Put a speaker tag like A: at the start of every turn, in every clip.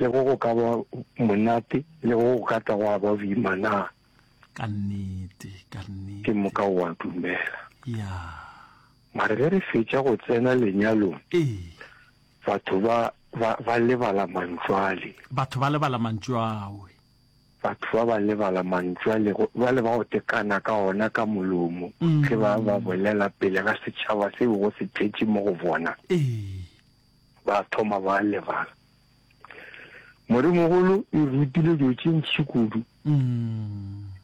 A: Le go go ka ba monate, le go go ka tla gwa ba boima na?
B: Ka nnete, ka nnete.
A: Ke moka o a dumela.
B: Ya.
A: Mare ge re fetša go tsena lenyalong,
B: Ee.
A: batho ba, ba, ba lebala mantšu ale.
B: Batho ba lebala mantšu ao.
A: Batho ba ba lebala mantšu ale, bjale ba go tekana ka ona ka molomo ge ba ba bolela pele ga setšhaba se bego se tletše mo go bona.
B: Ee.
A: Ba thoma ba lebala. Moremogolo e rutile dilo tše ntši kudu.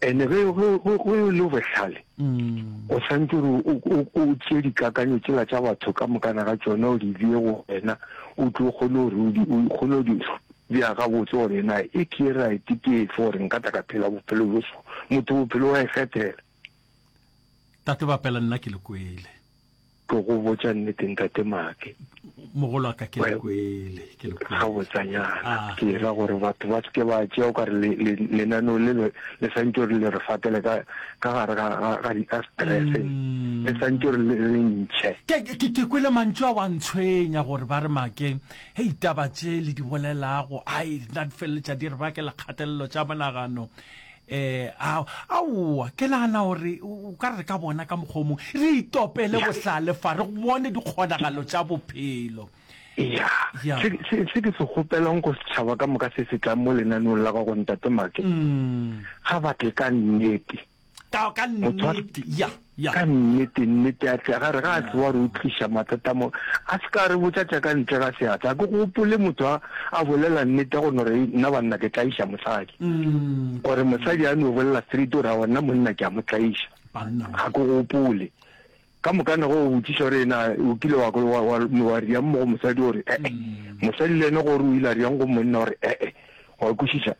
A: Ene ge, ge, ge, ge o le bohlale, o swanetše gore o, o, o tšee dikakanyo tšela tša batho ka mokana ga tšona o di bee go wena, o tlo kgone gore o di, o kgone go di bea gabotse gore na e ke e right ke efe gore nka tla ka phela bophelo bjo so. Motho bophelo wa ikgethela.
B: Tate Bapela nna ke le kwele.
A: Ke go botša nnete ntate Make.
B: Mogolo wa ka ke le kwele, ke le kwele.
A: Gabotsanyana. Ah. Ke ra gore batho ba seke ba tšea o ka re lenaneo le le santše gore le re fatele ka ka gare ga ga ga ga stress. Mm. Le santše gore le re ntšhe.
B: Ke ke ke kwele mantšu a wa ntshwenya gore ba re Make, hei taba tše le di bolelago, ai nna di feleletša di re bakela kgatelelo tša monagano. Eh, a, aowa, ke nagana gore o ka re re ka bona ka mokgwa o mongwe, re itopele bohlale fa, re bone dikgonagalo tša bophelo.
A: Ya, Ya. se, se, se ke se kgopelang go setšhaba ka moka se se tlang mo lenaneong la gago, Ntate Make,
B: Mm.
A: ga ba tle ka nnete.
B: Ka, ka
A: Motho a,
B: nnete, ya, ya.
A: ka nnete, nnete a tle, ga re ga a tseba gore o tliša mathata mo, a se ka a re botša tša ka ntle ga seatla. Ga ke gopole motho a, a bolela nnete ya go no re, Nna banna ke tlaiša mosadi. Gore mosadi a no bolela straight gore aowa nna monna ke a mo tlaiša.
B: Banna
A: Ga ke gopole. Ka moka ne go o botšiša gore na o kile wa, wa, wa, wa riang mo go mosadi gore ee. Mosadi le yena gore o ile a riang go monna gore ee. Wa kwešiša?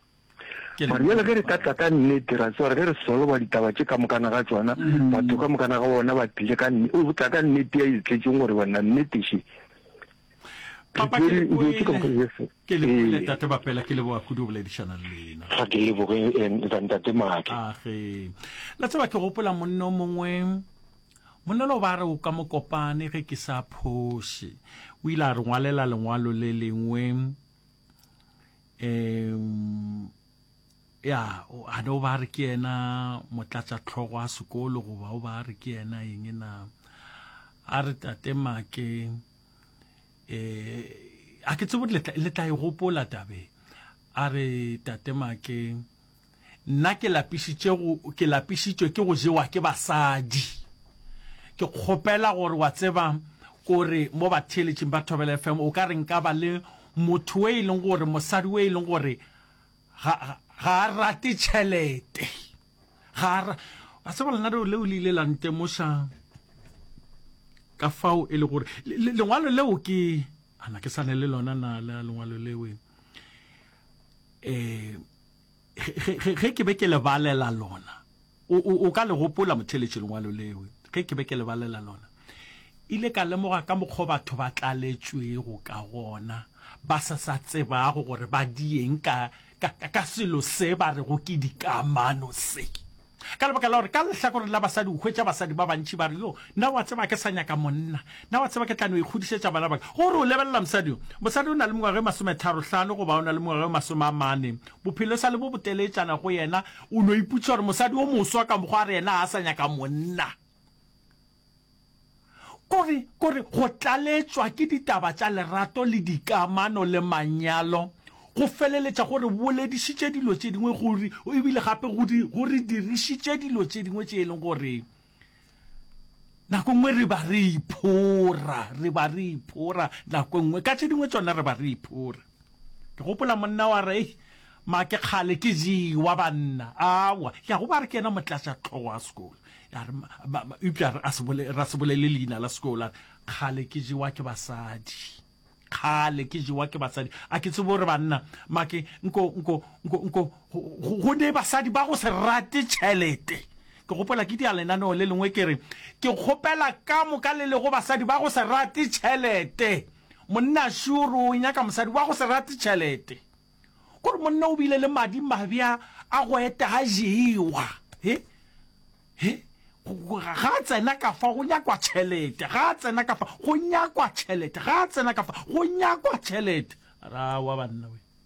A: Mara bjale ge re ka tla ka nnete, ra tseba gore ge re soloba ditaba tše ka mokana ga tšona, batho ka mokana ga bona ba tlile ka nne, o tla ka nnete ya e tletšeng gore banna nnete še.
B: Papa, ke le kwele, ke le kwele, Tate Bapela, ke leboga kudu go boledišana le lena.
A: Ga ke leboge, Ntate Make.
B: Age. La tseba ke gopola monna o mongwe, monna lo ba re o ka Mokopane ge ke sa phoše. O ile a re ngwalela lengwalo le lengwe. Um ya a ne o ba re ke yena motlatšatlhogo a sekolo goba o ba re ke yena eng na a re tate make um a ke tsebo le tla e gopola tabe a re tate make Nna ke lapišitše go, ke lapišitšwe ke go jewa ke basadi. Ke kgopela gore wa tseba kore mo batheeletšing ba Thobela FM o ka re nka ba le motho o e leng gore mosadi o e leng gore ga, ga a rate tšhelete. Ga a ra, wa tseba lenaneo leo le ile la ntemoša ka fao e le gore lengwalo leo ke, ana ke sa ne le lona na la lengwalo leo eh ge ke be ke le balela lona, o, o, o ka le gopola motheeletši lengwalo leo, ge ke be ke le balela lona, ile ka lemoga ka mokgwa batho ba tlaletšwego ka gona, ba sa sa tsebago gore ba dieng ka, ka, ka selo se ba rego ke dikamano se. Ka lebaka la gore ka lehlakoreng la basadi o hwetša basadi ba bantši ba re, Yo, nna wa tseba ke sa nyaka monna. Nna wa tseba ke tla no ikgodišetša bana ba ka. Gore o lebelela mosadi yo, mosadi o na le mengwaga e masometharohlano goba o na le mengwaga e masomeamane. Bophelo e sa le bo boteletšana go yena. O no ipotšiša gore mosadi o moswa ka mokgwa a re yena ga a sa nyaka monna. Kore, kore go tlaletšwa ke ditaba tša lerato le dikamano le manyalo go feleletša go re boledišitše dilo tše dingwe, go re, ebile gape go di, go re dirišitše dilo tše dingwe tše e leng gore nako nngwe re ba re iphora, re ba re iphora nako nngwe, ka tše dingwe tšona re ba re iphora. Ke gopola monna wa re, Ei, ma ke kgale ke jewa banna. Aowa, ya go ba re ke yena motlatšatlhogo wa sekolo. Ya re, eupša a se bole, ra se bolele leina la sekolo. A re, kgale ke jewa ke basadi. Kgale ke jewa ke basadi. A ke tsebe gore banna, ma ke, nko, nko, nko, nko, go, go ne basadi ba go se rate tšhelete. Ke gopola ke dia lenaneo le lengwe ke re, ke kgopela ka moka le lego basadi ba go se rate tšhelete. Monna sure o nyaka mosadi wa go se rate tšhelete. Kore monna o bile le madi mabja a go eta a jewa. He? He? Ga a tsena ka fa go nyakwa tšhelete. Ga a tsena ka fa go nyakwa tšhelete. Ga a tsena ka fa go nyakwa tšhelete. Ra wa banna we.